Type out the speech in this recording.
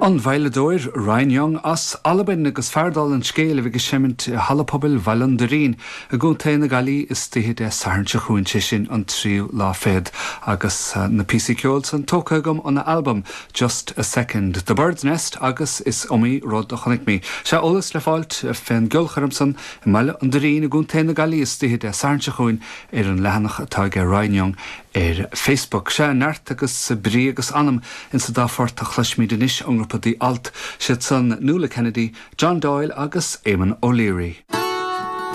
An veidhleadóir Ryan Young as Albain agus fear dála an scéil a bheidh ag seimint i Halla Pobail Bhaile an Doirín i gContae na Gaillimhe istoíche Dé Sathairn seo chugainn, sé sin an tríú lá fichead, agus na píosaí ceoil san tógtha agam óna albam Just a Second, The Bird's Nest agus Is Iomaí Rud a Chonaic Mé. Sea, eolas le fáilt fén gceolchoirm san i mBaile an Doirín i gContae na Gaillimhe istoíche Dé Sathairn seo chugainn ar an leathanach atá aige Ryan Young ar Facebook. Sea, neart agus brí agus anam insa dá phort a chloisfimid anois ón ngrúpa The Alt, siad san Nuala Kennedy, John Doyle agus Eamon O'Leary.